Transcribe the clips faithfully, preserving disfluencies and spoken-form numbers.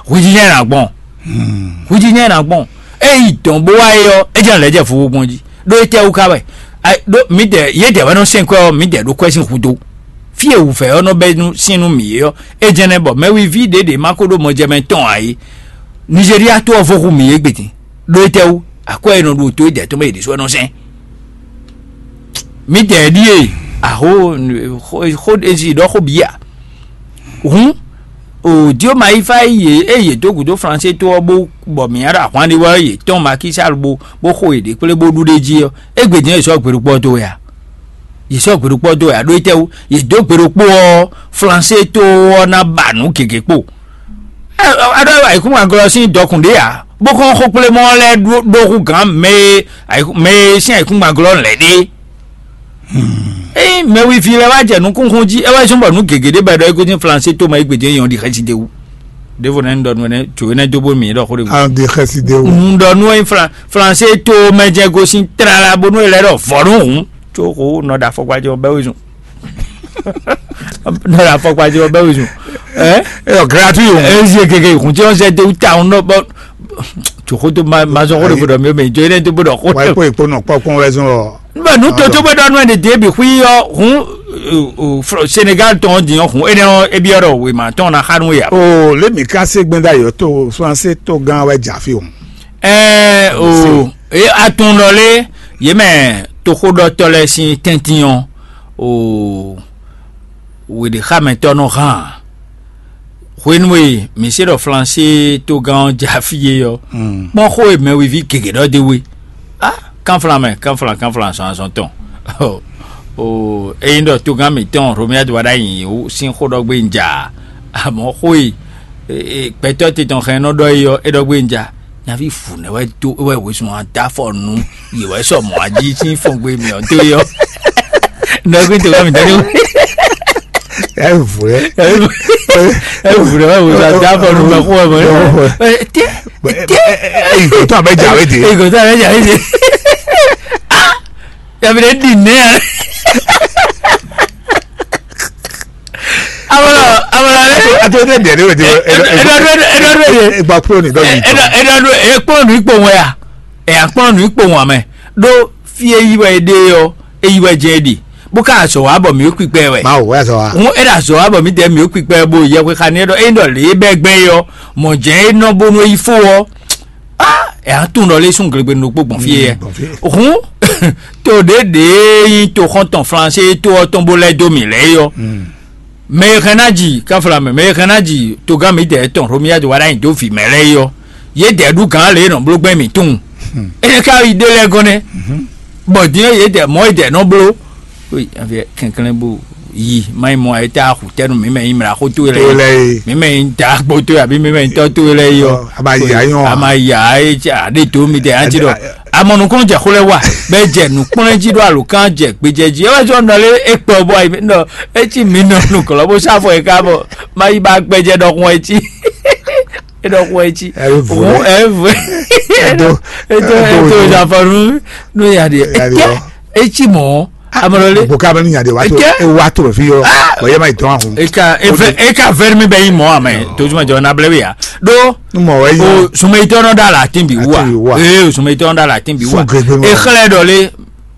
Hwiji nyɛ ná gbɔn. Hwiji nyɛ ná gbɔn. Eyi dɔn bó wá é ɔ́, é jɛ lɛ̌ jɛ fofó gbɔn jí. Ɖó étɛ́ wú ká wɛ? Ɖó mǐdɛɛ yědɛɛ wɛ nɔ sɛn kwɛ́ ɔ́, mǐdɛɛ ɖó kwɛ́ sín hudó. Fí e wǔvɛ́ ɔ́ nɔ bɛ́ nú sín nú mǐ é ɔ́, é jɛ́n nɛ́ bɔ mɛwiví ɖě ɖě ma ko ɖó mɔjɛmɛ tɔn ǎ é. Nizeriya to ɔ́ vo hu mǐ é gbedin. Ɖó étɛ́ wú? Akwɛ́ e nɔ ɖu to é dɛ̌ tɔn mɛ yě ɖésú wɛ nɔ sɛn. Mǐdɛɛ ɖíe. Aho xó ezi ɖɔ xó bǐ a? Hǔn, o Dioma yi fá yi yě eye dó gǔdo Flansé tó ɔ́ bó bɔ mǐ ɖo ahwan ɖi wɛ yě tɔn Makísal bó bó xo yě ɖe kplé bó ɖu ɖ'é jí ɔ́, égbé din ɔ́ yě sɔ́ gbe ɖokpɔ́ dó wɛ a? Yě sɔ́ gbe ɖokpɔ́ dó wɛ a? Ɖó étɛ́ wú? Yě dó gbe ɖokpó ɔ́, Flansé tó ɔ́ ná ba nǔ gěgé kpo. Aɖɔ ayǐkúngban glɔ́ sín dɔkun ɖé ǎ, bó kɔn xó kplé mɔ lɛ́ɛ ɖó hú gǎn mɛ e mɛ e sín ayǐkúngban glɔ́ lɛ̌ ɖe. Ée mɛwiví lɛ́ɛ wá jɛ nukúnxún jí, é wá zɔ́n bɔ nǔ gěgé ɖé bɔ è ɖɔ é gosín Flansé tó mɛ é gbedě nyɔ ɖi xɛsi d'é wú. Ɖěvo nɛ́ un ɖɔ nú énɛ́ tso énɛ́ dó bó mǐ ɖɔ xó ɖé wú. Un ɖɔ nú é Flansé tó mɛ jɛ gosín tlala bónú é lɛ́ ɖɔ vɔ̌ nú hǔn, có xó nɔ ɖo afɔkpa jɛ ɔ́ bɛ́ wezun. Nɔ ɖo afɔkpa jɛ ɔ́ bɛ́ wezun. Ɛ? Ɛ gratuit o. Ezi gege hun tí wọ́n ṣe dé ta ɔ́n nɔ bɔ tòkó tó ma ma sọ kó lè gbọdọ̀ mi mɛ ìjọ yẹn tó gbọdọ̀ kó. Wáyé kó ìkpó nọ kpɔkpɔn wɛ zɔn ɔ. Nígbà nú tó tó gbọdọ̀ nú ẹ̀ dé bi xwí yọ hun Senegal tɔn di yọ hun ene ɔ ebi ɔrɔ wema tɔn na xanu ya. O lé mi ká sé gbɛ́ndà yɔ tó Flansé tó gán wɛ jà fi o. Ɛɛ o e atun ɖɔ lé yě mɛ toxóɖɔtɔ́ lɛ́ɛ sín tɛ́ntin ɔ́ o wěɖéxámɛtɔ́ nɔ hán ǎ. Hwenu e mǐ se ɖɔ Flansé togán ɔ́ jɛ afí é ɔ́, kpɔ́n xó e mɛwiví gěgé ɖɔ d'é wú é. Á, kánflán mɛ, kánflán, kánflán azɔn azɔn tɔn. O ényí ɖɔ togán mǐtɔn Romia do wá ɖ'ayǐ sín xó ɖɔ gbé un ja ǎ. Amɔ̌ xó e gbɛtɔ́ te tɔn hɛn nɔ ɖɔ é ɔ́, é ɖɔ gbé un ja. Nyaví vǔ nɛ́ wɛ dó wɛ wezun ɔ́ dó afɔ nú yě wɛ sɔ mɔ̌ ají sín fɔngbe mǐ ɔ́ dó é ɔ́. Nɔgbín tó wá mǐ dɔ́ ní. Ɛ vǔ ɛ. Ɛ vǔ ɛ wá wezun adó afɔ nú mɛ xó wɛ mɔ. Tɛ tɛ. Ìgò tó àbẹ jà wé dé. Ìgò tó àbẹ jà wé dé. Yàbí dɛ di nɛ. Amọ̀nà amọ̀nà rẹ̀. Àti ọdún ẹ̀dẹ̀ ni wọ́n ti wọ́n. Ẹ̀dọ̀dún ẹ̀dọ̀dún ẹ̀dẹ̀. Ìgbà kúrò ní dọ́jú. Ẹ̀dọ̀dún ẹ̀kpọ́n nù ipò wọn yà. Ẹ̀yà kpọ́n nù ipò wọn mẹ́. Ɖó fí e yí wɛ é ɖe ɔ́, é yí wɛ jɛ é ɖi. Bó ká sɔ wá bɔ mǐ ó kpikpɛ wɛ. Má wò wá sɔ wa. Hǔn é ɖo azɔ̌ wá bɔ mǐdɛɛ mǐ ó kpikpɛ bó yɛ xwe xa ní é ɖɔ é ɖɔ lě é bɛ́ gbɛn é ɔ́, mɔ̌ jɛ́n é nɔ bónú é yi fó ɔ́. Á, ɛ á tunwun ɖɔ lé sún glegbenu ɖokpó gbɔn fí é. Hǔn to ɖě ɖě nyí toxɔ́ntɔn Flansé tó ɔ́ tɔn bó lɛ́ dó mǐ lɛ́ɛ é ɔ́, mɛ e hɛn ná ji káfla mɛ, mɛ e hɛn ná ji togán mǐdɛɛ tɔn Romia do wá ɖ'ayǐ dó vǐ mɛ lɛ́ɛ é ɔ́, yědɛɛ ɖu gǎn lě e nɔ bló gbɛn mǐ tunwun. Énɛ́ ka yi ɖe lɛ́ɛ gɔ́ nɛ́, bɔ din ɔ́ yědɛɛ mɔ̌ yědɛɛ nɔ bló. Kɛnklɛ́n bó yi má yi mɔ ayé tá a xu tɛ́ nú mǐ mɛ nyí mla xó towe lɛ́ɛ yi. Mǐ mɛ nyí dǎgbó towe abǐ mǐ mɛ nyí tɔ́ towe lɛ́ɛ yi ɔ́. A ma yi ayé ɔ́. A ma yi ayé tsa aɖé tó mi tɛ an ti ɖɔ. Amɔ nukɔn jɛ xó lɛ wa bɛ jɛ nukplɔn jí ɖo alokán jɛ gbejɛ jí. Ewé sɔ nɔ lé ekpɔ bɔ ayi nɔ etsi mi nɔ nukɔlɔ bó sáfɔ yi ká bɔ má yi ba gbɛjɛ ɖɔkun etsi. Eɖɔkun etsi. Ɛvɛ. Ɛvɛ. Edo edo edo zafɔnu no ya de. Etsi mɔ. Amɔlɔle. Gbogbo ka bɛ ni nya de wa to. Eke. Ewa to fi yɔ. Bɔn yɛ ma yi dɔn ahun. Eka efe eka vɛri mi bɛ yi mɔ amɛ tozuma jɔ na blɛ wi ya. Do. Mɔ wɛ yi. O sumɛ itɔ nɔ da la tin bi wa. Ee o sumɛ itɔ nɔ da la tin bi wa. Exlɛ dɔ le.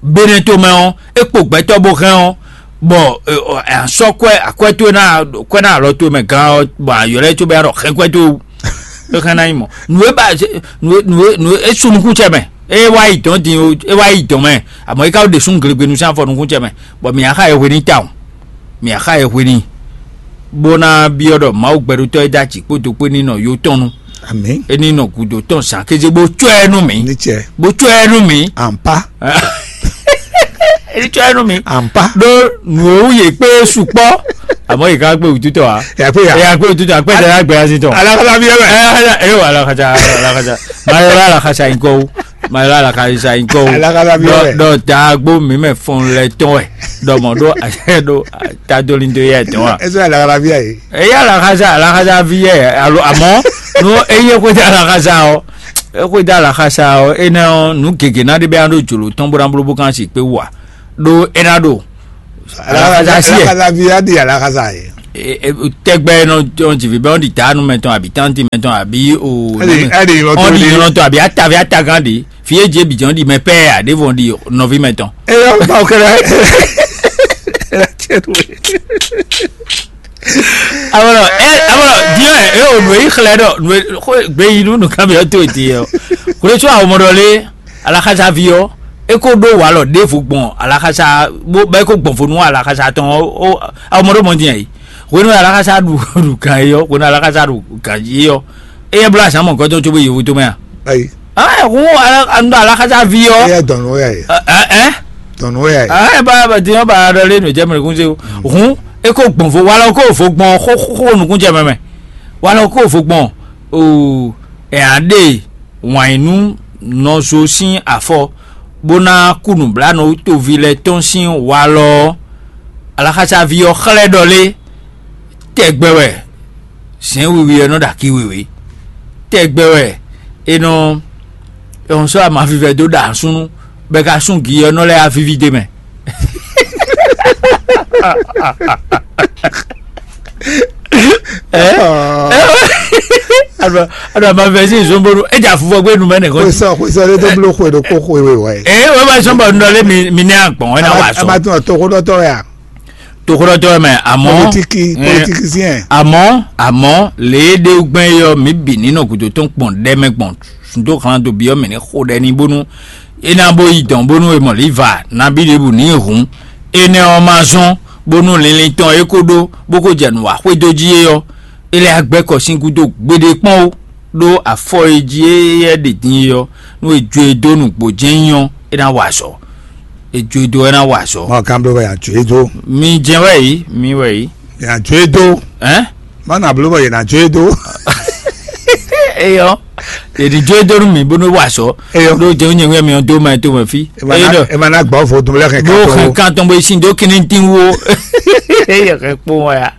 Benɛ to mɛ ɔ ekpo gbɛtɔ bo hɛn ɔ bɔ asɔ kwɛ akwɛ to na kwɛ na alɔ to mɛ gan ɔ bɔ ayɔ lɛ to bɛ arɔ hɛn kwɛ to. Exlɛ na yi mɔ nu e ba nu e nu e nu e esu nukutsɛ mɛ. Eye wá yi dɔn din o, e wá yi dɔn mɛ. Amɔ yi ka ɖe sun glegbenu sín afɔ nukutsɛ mɛ. Bɔ mi axa yɛ hwe ní ta o. Mi axa yɛ hwe ní. Bó ná byɔ́ ɖɔ Mawu gbɛɖotɔ́ e dó aci kpódó kpé ní nɔ yó tɔn nu. Ami. E ní nɔ gǔdo tɔn zǎn kéze bó tsɔ́ ɛ nú mi. Ní tsɛ. Bó tsɔ́ ɛ nú mi. Ampa. E ní tsɔ́ ɛ nú mi. Ampa. Ɖó nǔ e wú yě kpé sukpɔ́. Àmọ́ yě ká gbé wútútọ̀ wá. Yà pé yà. Yà gbé wútútọ̀ wá pé dada gbé azin tɔn. Alakala bí ẹ bẹ. Ẹ ẹ wà alakasa alakasa. Mayọ̀rọ̀ alakasa yín kọ́ wú. Mayɔla alakasa yi kɔ o. Alakasa bi wɛ. Dɔ dagbo mi mɛ fɔn lɛ tɔn wɛ. Dɔ mɔ ɖo ahyɛ ɖo tadolindo yɛ tɔn wa. Ɛsɛ alakasa bi yɛ. Eya alakasa alakasa vi yɛ alo amɔ nu eye ko da alakasa o. Eko da alakasa o ena o nu gege na de bɛ an do jolo tɔn bo na bolo bo kan si pe wa. Do ena do. Alakasa si yɛ. Alakasa bi ya di alakasa yɛ. tɛgbɛ nɔ jɔn jivǐ bɛ ɔn ɖi taanu mɛtɔn abi tanti mɛtɔn abi o Ɛdi ɛdi ɔn ɖi yɔn tɔn abi atavi atagán ɖi fi e dze bi jɔn ɖi mɛ pɛ aɖevɔn ɖi nɔvi mɛtɔn. Eyɔ ba o kɛlɛ. Awɔlɔ ɛ awɔlɔ diɛ ɛ o nue yi xlɛ dɔ nue xo gbe yi nu nu kan bi ɔ to eti yɔ kule tso awɔmɔ dɔ le alaxasavi ɔ e ko ɖo walɔ ɖevo gbɔn alaxasa bo bɛ ko gbɔn fo nu alaxasa tɔn ɔ awɔmɔ dɔ mɔ diɛ yi hwenu alaxasa ɖu ɖu gan yi ɔ hwenu alaxasa ɖu gan yi ɔ eyɛ bla azan mɔ gɔdɔn tso bo yevu to mɛ a. Ayi. Ah, hun anu alaxasa vi ɔ. Eyɛ dɔnu ya yi. Ɛ ɛ. Dɔnu ya yi. Ah, ɛ ba ba diɛ ba dɔ le nu jɛ mɛ kun se o. Hun e ko gbɔn fo walɔ ko fo gbɔn xo xo xo nukun jɛ mɛ mɛ. Walɔ ko fo gbɔn o ɛ aɖe wanyinu nɔzo sín afɔ bó ná kú nǔblanú toví lɛ́ɛ tɔn sín walɔ ɔ́. Alaxasaví ɔ́ xlɛ́ ɖɔ lé tɛgbɛ wɛ zɛ̌n wiwi ɔ́ nɔ ɖo akí wěwé. Tɛgbɛ wɛ è nɔ è nɔ sɔ́ amavivɛ dó ɖa asúnú bɔ è ka sún gi ɔ́ nɔ lɛ́ avíví d'é mɛ. Alo alo amavɛ sí ìzónbónú é jà fúnfɔ gbé numɛ nìkan. Xwesɔ xwesɔ ɖé tó bló xwe ɖokpó xwe wé wɛ. Ee wọ́n bá sọ́n bọ̀ nínú ọlé mi mi ní àgbọ̀n wọ́n náà wà sọ. Abatún ọ̀tọ́kọ́dọ́tọ́ yà. Tokodɔtɔ mɛ àmọ́ Politiki eh, politiki sí yẹn. Àmọ́ àmọ́ lě e ɖe gbɛn yɔ mǐ bǐ ní nɔ gǔdo tɔn kpɔn ɖɛ mɛ gbɔn sundo xlan do byɔ́ mǐ ní xo ɖɛ ní bónú é ná bó yi dɔn bónú e mɔ lǐva nabí ɖěbǔ ní hǔn énɛ́ ɔ́ ma zɔ́n bónú linlin tɔn é kó ɖó bó kó jɛ nǔ wa xwedó jí é ɔ́, é lɛ́ agbɛ́ kɔ sín gúdo gbeɖé kpɔ́n ó. Ɖó afɔ e jí éyɛ́ ɖe din é ɔ́, nú è jó e dó nǔgbó jɛ́n nyí ɔ́, é ná wa azɔ̌. È jó e dó ɔ́, é ná wa azɔ̌. Mɔ kan bló bɛ yàn jó e dó. Mi jɛn wɛ yìí, mi wɛ yìí. Yàn jó e dó. Ɛn? Má nà bló bɛ yàn jó e dó. Eyɔ, èdè jó e dó nú mi bó nú wa azɔ̌. Eyɔ. Ɖó jẹun nyɛ wɛ mi ɔ́ dó ma tó mɛ fí. Eyɔ dɔ. Ẹ ma ná gbɔ fo dùn lẹ́kẹ̀ẹ́ Bó kan tó. Xɛ kan tɔn bó sin dó kíní dín wo. Eyɔ kɛ kpó wọn ya.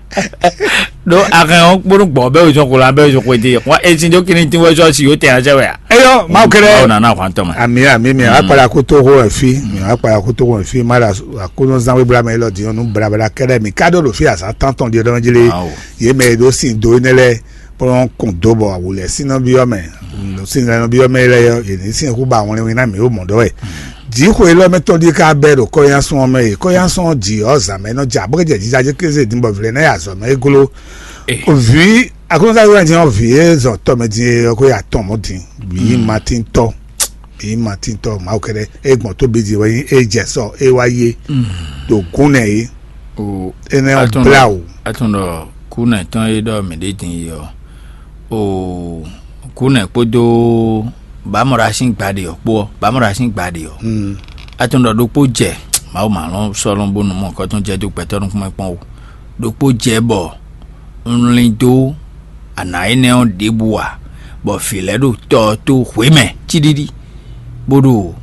Ɖó ahɛn ɔ́ kpónú gbɔn bɛ́ wezɔn xwla bɛ́ wezɔn xwedí wá e sin dó kíní tín wɛ sɔ́ si yóò tɛ azɛ wɛ a? Eyɔ, Mawu kɛlɛ. Mawu nana hwan tɔn mɛ. Ami ami mi akpala kuto ho efi mi akpala kuto ho efi ma la akuno zan we bla mɛ lɔ diɲɔ nu bla bla kɛlɛ mi ka ɖo ɖo fi azan tán tɔn di ɖɔn jeli. Ye mɛ ɖo sin do ne lɛ kplɔn kun do bɔ awu lɛ sin nɔ bi yɔ mɛ sin nɔ bi yɔ mɛ lɛ yɔ ye ni sin hu ba wɔn win na mi o mɔ dɔ wɛ. Jixwe lɔ mɛ tɔn di ka bɛ ɖo kɔyansun ɔmɛ ye kɔyansun ɔ di ɔ zan mɛ nɔ dza bɔ kɛ jɛ jija jɛ keze din bɔ vlɛ na ya zɔ mɛ eglo. Vǐ aklúnɔzá wɛ jɛn ɔ́ vǐ e zɔ tɔmɛ din e ɔ́ ko ya tɔn mɔ din. Vǐ matíntɔ vǐ matíntɔ mawu kɛɖɛ e gbɔn tóbi din wɛ nyi e jɛ sɔ e wá yé ɖo gún nɛ é. Énɛ́ ɔ́ blá o. Atún ɖɔ kú nɛ tɔn e ɖɔ mǐ ɖe din yi ɔ́, o kú nɛ kpódó bǎmɔɖa sín gba ɖe ɔ́ kpó ɔ́ bǎmɔɖa sín gba ɖe ɔ́. Atún ɖɔ ɖokpó jɛ mawu mǎlɔ́ sɔ́lɔ́n bónú mɔ kɔ́tɔn jɛ dó gbɛtɔ́ nukúnmɛ kpɔ́n o. Ɖokpó jɛ bɔ un lin dó anǎ énɛ́ ɔ́ ɖěbǔ ǎ, bɔ vǐ lɛ́ɛ ɖo tɔ ɔ́ tó hwě mɛ cíɖíɖí, bó ɖo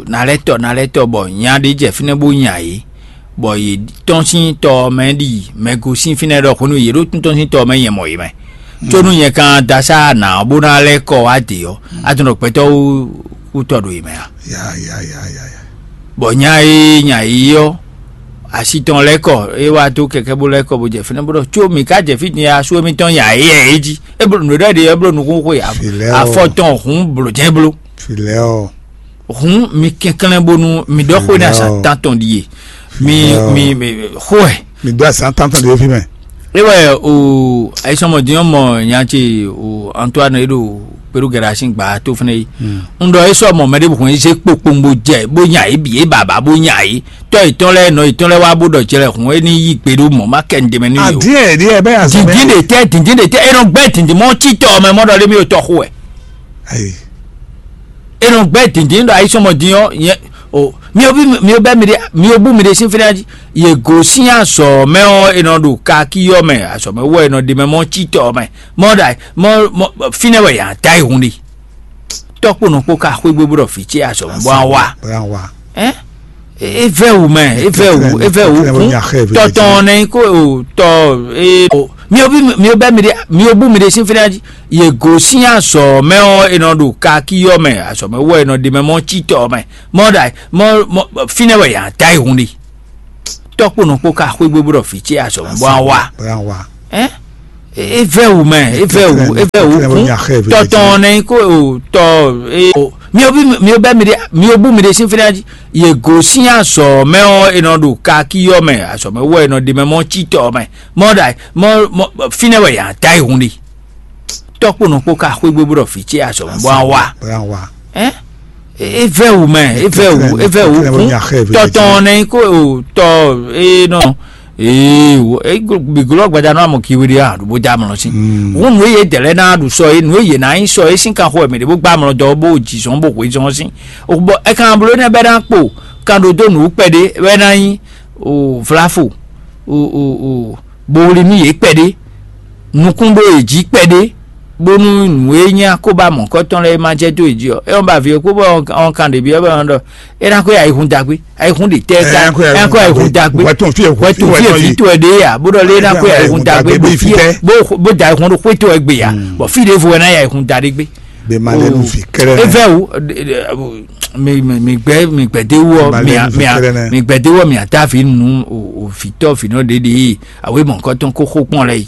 nalɛ́tɔ nalɛ́tɔ bɔ nya ɖé jɛ fínɛ́ bó nya yě, bɔ yě tɔ́n sín tɔ ɔ́ mɛ ɖi mɛ gosín fínɛ́ ɖɔ hwenu yě ɖo tɔ́n sín tɔ ɔ́ mɛ nyɛ mɔ yě mɛ. Có nú nyɛ ka da sá anǎ ɔ́ bó ná lɛ́ kɔ wá dě ɔ́, a tunɔ gbɛtɔ́ wú tɔ ɖo yě mɛ a? Bɔ nya e nya yi ɔ́, asi tɔn lɛ́ kɔ, é wá dó kɛkɛ́ bó lɛ́ kɔ bó jɛ fínɛ́ bó ɖɔ có mǐ ka jɛ fí din asu émítɔn nya é yɛ é jí. É bló nǔɖé ɖɔ ɖe é bló nukún xwe afɔ tɔn hǔn blǒ jɛ́n bló. Hǔn mi kɛnklɛ́n bónú mi ɖɔ xwe ní azǎn tántɔn ɖíe. Mi mi mi xwɛ. Mi ɖɔ azǎn tántɔn ɖíe fi mɛ. É wɛ o ayisɔmɔdín ɔ́ mɔ nya ce o Antoine e ɖo Peru gɛɖe asi gba tó fɛnɛ yi. Un ɖɔ é sɔ mɔ mɛ ɖěbǔ hɔn é zé kpokpongbo jɛ bó nya yě bǐ é bǎbá bó nya yě. Tɔ́ yětɔn lɛ́ɛ nɔ yětɔn lɛ́ɛ wá bó ɖɔ jɛ lɛ hǔn é ní yí gbe ɖó mɔ̌ má kɛ nǔɖé mɛ nú yě o. Adín ɛ ɖíɛ bɛ azɔn. Dǐndín ɖe tɛ́ dǐndín ɖe tɛ́ é nɔ gbɛ́ dǐndín mɔ cí tɔ ɔ́ mɛ mɔ ɖɔ lé mí o tɔ xo wɛ. Ayi. É nɔ gbɛ́ dǐndín ɖɔ ayisɔmɔ dín ɔ́ nyɛ o mi ò bí mi ò bɛ mi ɖe mi ò bú mi ɖe sín fínɛ́ jí. Yě gosín azɔ̌ mɛ ɔ́ è nɔ ɖo kakí ɔ́ mɛ azɔ̌ mɛ wɔ è nɔ ɖe mɛ mɔ cí tɔ ɔ́ mɛ mɔ ɖa mɔ mɔ fínɛ́ wɛ yě ná ta yi hun ɖe. Tɔ́kpɔ́nɔ kpó ka xwé gbé bó ɖɔ vǐ ce azɔ̌ mɛ bó wá wá. Bó wá wá. Ɛ evɛ wu mɛ evɛ wu evɛ wu kún tɔtɔn nɛ ko o tɔ ee o mi o bi mi o bɛ mi de mi o bu mi de sin fɛnɛ adi ye go sin azɔ mɛ ɔ enɔ do kaki yɔ mɛ azɔ mɛ wɔ enɔ de mɛ mɔ titɔ mɛ mɔ da mɔ mɔ finɛ wɛ yan da ihun de. Tɔ́kponɔ kpó ka xwé gbé bó ɖɔ vǐ ce azɔ̌ bó wá wá. Bóyá wá. Ɛ é vɛ wǔ mɛ, é vɛ wǔ, é vɛ wǔ kún. Tɔtɔn nɛ kó o tɔ é o. Mi o bí mi o bɛ mi ɖe mi o bú mi ɖe sín fínɛ́ jí. Yě gosín azɔ̌ mɛ ɔ́, è nɔ ɖo kakí ɔ́ mɛ, azɔ̌ mɛ wɔ è nɔ ɖe mɛ mɔ cí tɔ mɛ. Mɔ ɖa mɔ mɔ fínɛ́ wɛ yǎ ta yi hun ɖi. Tɔ́kponɔ kpó ka xwé gbé bó ɖɔ vǐ ce azɔ̌ mɛ bó wá wá. Bóyá wá. Ɛ é vɛ wǔ mɛ, é vɛ wǔ, é vɛ wǔ kún. Tɔtɔn nɛ kó o tɔ é nɔ. Ee, wo e glo- bi glɔ gbada nɔ amɔ kiwi ɖe a ɖo bó dá amlɔ sí. Wọn nù eye dɛlɛ ná ɖu sɔ ye nù eye ná nyi sɔ ye sín kan xɔ mɛ ɖe bó gbá amlɔ dɔ bó jì zɔn bó hwe zɔn sí. O bɔ ɛ kan blo ne bɛ ná kpo kan ɖo dó nǔ kpɛɖé bɛ ná nyi o vlafo o o o bo wli nú yě kpɛɖé nukún ɖó yě jí kpɛɖé bónú nǔ e nyí akóbá mɔ̌kɔtɔn lɛ́ɛ ma jɛ dó yě jí ɔ́, é wɔn ba vǐ ɔ́ kpó bɔ ɔn kan ɖě byɔ́ bɔ ɔn ɖɔ é ná kó yí ayihun dagbe, ayihun ɖě tɛ́ ká ɛ kó yí ayihun dagbe. Hwɛtun fí ɛ hwɛtun fí ɛ vǐ tó ɛ ɖe ya bó ɖɔ lé ná kó yí ayihun dagbe bó fí ɛ bó bó da ayihun ɖo xwé tó ɛ gbe ya bɔ fí ɖěvo ɛ ná yí ayihun da ɖé gbé. Be ma lé nu fi kɛlɛ. Evɛ wu mi mi mi gbɛ mi gbɛdé wɔ mi mi mi gbɛdé wɔ mi ata fi nu o o fitɔ finɔ ɖeɖe awo mɔ̌kɔtɔn kó xó kpɔn lɛ yi.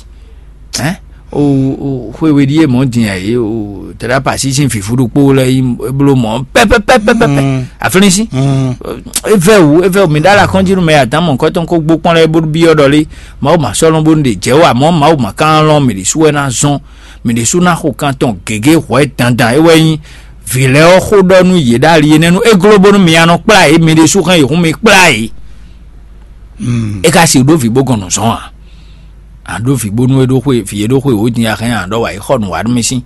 Ɛn o o xwéwe ɖíe mɔ̌ din ɛ o tɛɖá pasi sín fífú ɖokpó lɛ yi bló mɔ̌ pɛpɛpɛpɛpɛ aflín sí. Evɛ wu evɛ wu mi ɖá la kɔn jí nú mɛ atán mɔ̌kɔtɔn kó gbó kpɔ́n lɛ bó byɔ́ ɖɔ lé. Mawu ma sɔ́ lɔn bónú ɖe jɛ wá mɔ̌ Mawu ma ka lɔn mɛ ɖésú wɛ ná zɔn. Mɛ ɖésú ná xo kan tɔn gěgé hwɛ̌ dandan é wɛ nyí vǐ lɛ́ɛ ɔ́ xó ɖɔ nú yě ɖo ali énɛ́ nú é gló bónú mi ya nɔ kplá yě mɛ ɖésú hɛn yě hún mi kplá yě. É ka si ɖó vǐ bó gɔn nǔ zɔn ǎ. A ɖó vǐ bónú é ɖó xwe vǐ é ɖó xwe wǒ din axɛ́n a ɖɔ wǎ yi xɔ nǔ wá nú mì sín.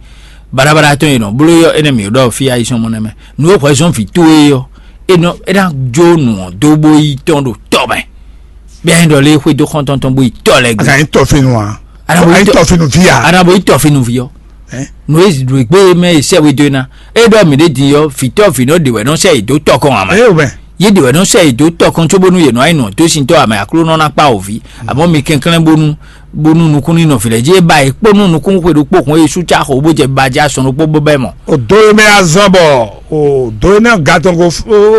Baɖabaɖa tɔn e nɔ bló yɔ énɛ́ mǐ ɖɔ fí ayisɔn mɔ nɛmɛ nǔ e hwɛzɔ́n vǐ towe é ɔ́, é nɔ é ná jó nǔ ɔ́ dó bó yi tɔn ɖo tɔ́ mɛ. Bɛ́ nyí ɖɔ lé xwedó xɔ́ntɔn tɔn bó yi tɔ́ lɛ́ɛ gbe. Azan yín tɔfinu a? Azan yín tɔfinu vi a? Ana bó yi tɔfinu vi ɔ́. Nǔ e ɖo gbé mɛ e sɛ we dó ná. É ɖɔ mǐ ɖé din ɔ́, vǐtɔ́ vǐnɔ ɖě wɛ nɔ sɛ yě dó tɔkɔn ǎ mɛ. Eye o mɛ. Yě ɖě wɛ nɔ sɛ yě dó tɔkɔn cóbónú yě nɔ wá yi nɔ dó sintɔ́ ǎ mɛ Aklúnɔ ná kpá wǒ ví. Àmọ́ mi kɛnklɛ́n bónú bónú nukún ní nɔ vǐ lɛ́ɛ jí é ba yě kpó nú nukún xwe ɖokpó hun é sú cá xo bó jɛ ba jɛ asɔn ɖokpó bó bɛ́ mɔ. O do e mɛ azɔn bɔ o do e nɛ ga tɔn ko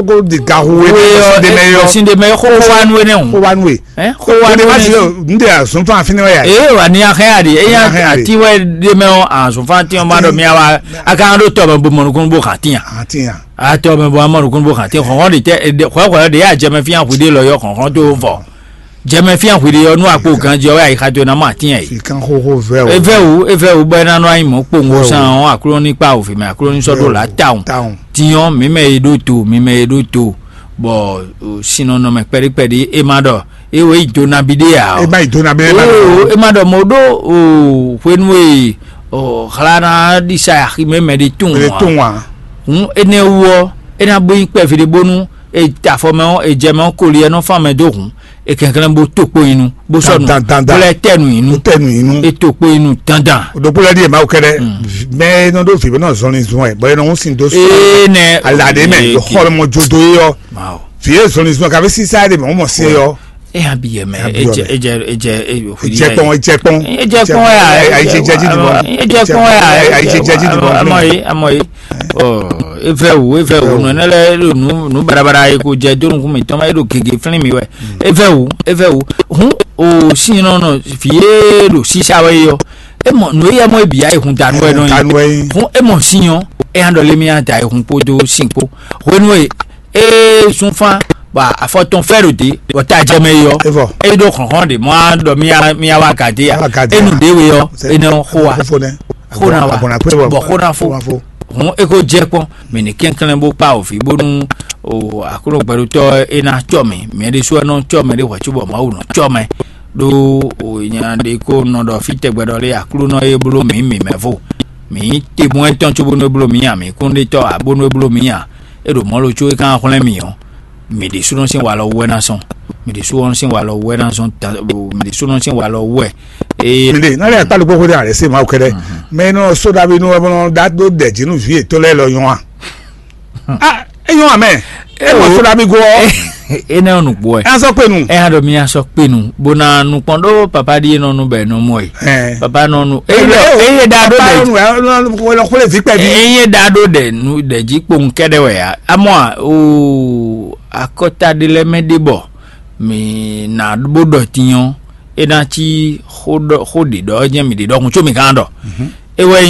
ko di ga hu e mɛ ɔsinde mɛ yɔ. Sinde mɛ xó wá nú énɛ́ hùn. Xó wá nú e. Xó wá nú énɛ́. N de azɔn fún afi ne wɛ ya. Ee wà ní ahẹ́ àdì eyín àti wɛ dé mɛ ɔ azɔn fún àti ɔmọ àdó mi àwa akáwọn tó tọ̀ bọ̀ mọ̀ nukún bó kà tíyàn. Atiyan. Atɔ mɛ bɔ amɔ nukún bó kàn tíyàn xɔxɔn de tɛ xɔxɔn de yà jẹmɛ fíyàn hwi de lɔ yɔ xɔxɔn tó vɔ. Jɛmɛ fían hwi ɖe ɔ́ nú akpo ganjí ɔ́ wɛ ayixa towe ná mɔ atín ɛ. Fika xóxó vɛ o. Evɛ wú evɛ wú bɔ é ná nɔ anyi mɔ̌ kpowun ó sán ɔ́, akló ní kpa òvǐ mɛ akló ní sɔ́ ɖó lǎ tawun. Tawun. Din ɔ́, mǐ mɛ e ɖó to mǐ mɛ e ɖó to bɔ sinnɔnɔ mɛ kpɛɖíkpɛɖí é má ɖɔ é wɛ yi do nabi ɖé ǎ. É má yi do nabi ɖé má ɖɔ. É má ɖɔ mɔ ɖó o hwenu e o xlá ná ɖisa aximɛ mɛ ɖé tún Mɛ ǎ. Tún ǎ. Hǔn énɛ́ wú ɔ́, é ná bó nyí kpɛví ɖé bónú e ta afɔ mɛ ɔ́, e jɛ mɛ ɔ́, koli ɛ nɔ fán mɛ dó hǔn. E kɛnklɛ́n bó to kpo nyi nu, bó sɔ́ nu, Dandan, dandan. Bó lɛ́ tɛ nu nyi nu. Ó tɛ nǔ yí nú. E to kpo nyi nu dandan. Ɖokpó lɛ́ɛ ɖíe Mawu kɛ́ɖɛ́. Mɛ e nɔ ɖó vǐ bó nɔ zɔnlin zɔn ɛ bɔ é nɔ hún sin dó Ee nɛ. Alǎɖé mɛ Ee, ɖo xɔ mɔ jodo é ɔ́. Wow. Vǐ e zɔnlin zɔn kaví sísá ɖe mɛ wọ́n mɔ sí é ɔ́. E hã bi yɛ mɛ. Hã bi yɔ mɛ. Edze edze edze e hwi Edze kpɔn, edze kpɔn. Edze kpɔn ya. Ayi jɛ jí dìbò. Edze kpɔn ya. Ayi jɛ jí dìbò. Amɔ ye amɔ ye. Ɔ evɛ wu evɛ wu nɔ ne lɛ ɖo nu nu barabara ye ko jɛ do nukun mi tɔn ma ye ɖo gege flin mi wɛ. Evɛ wu evɛ wu. Hun o sin nɔ nɔ fi ye ɖo sisa wɛ yɔ. E mɔ nu eya mɔ ebi ya ehun danu wɛ nɔ Danu wɛ yi. Yi. Hun e mɔ sin yɔ. E hã ɖɔ lé mi ya da ehun kpo do sin kpo. Hwenu e ee sunfan bɔ afɔ tɔn fɛ ɖo dé bɔ ta jɛ mɛ yi ɔ Evɔ. Eyi ɖo xɔxɔn de mɔ a ɖɔ mi ya mi ya wa gade ya Wa gade enu ya. De we ɔ Sɛ- enu xo wa Xo nɛ. Xo na wa Abɔna kpe bɔ. Bɔ xo na fo Xo na fo. Hun eko jɛ kpɔn mɛ ni kɛnklɛn bo kpa ofi bonu o akolo gbɛɖotɔ e na tsɔ mi mɛ de su ɛnɔ tsɔ mɛ de hwɛ tsu bɔ mawu nɔ tsɔ mɛ ɖo o nya de ko nɔ ɖɔ fi tɛgbɛ ɖɔ le aklo nɔ e blo mi mi mɛ vo mi te bɔn etɔn tso bonu e blo mi ya mi kún de tɔ a bonu e blo mi ya e ɖo mɔ̌ lo có é ka hwlɛ́n mì ɔ́, mì ɖésúnɔ sín walɔ wú wɛ ná sɔn. Mì ɖésúnɔ sín walɔ wú wɛ ná sɔn. Mì ɖésúnɔ sín walɔ wú wɛ. Ee. Mìɖe nálɛ akpá ɖokpó xwé ɖé alɛ sí Mawu kɛɖɛ. Mɛ nɔ sóɖabi nú ɛmɔ dá dó dɛ jǐ nú vǐ yětɔn lɛ́ɛ lɔ nyɔ́ a? A é nyɔ́ amɛ. É mɔ sóɖabi gó ɔ. Énɛ́ ɔ́ nǔgbó ɛ. Ɛ sɔ kpenu. Ɛ hã ɖɔ mì asɔ kpenu bó ná nukpɔn ɖó papa ɖíe nɔ nu bɛ nɔ mɔ ɛ. Ɛ. Papa nɔ nu. Eye ɖɔ eye ɖa ɖó Papa dɛ. Nɔ nu ɛ nɔ xwlé vǐ kpɛ bí. Eye ɖa ɖó dɛ nu dɛ jí kpowun kɛɖɛ wɛ ya. Amɔ a o akɔta ɖe lɛ mɛ ɖe bɔ. mǐ ná bó ɖɔ tín ɔ́, é ná cí xó ɖɔ xó ɖě ɖɔ jɛ́n mǐ ɖe ɖɔhun có mǐ gán ɖɔ. É wɛ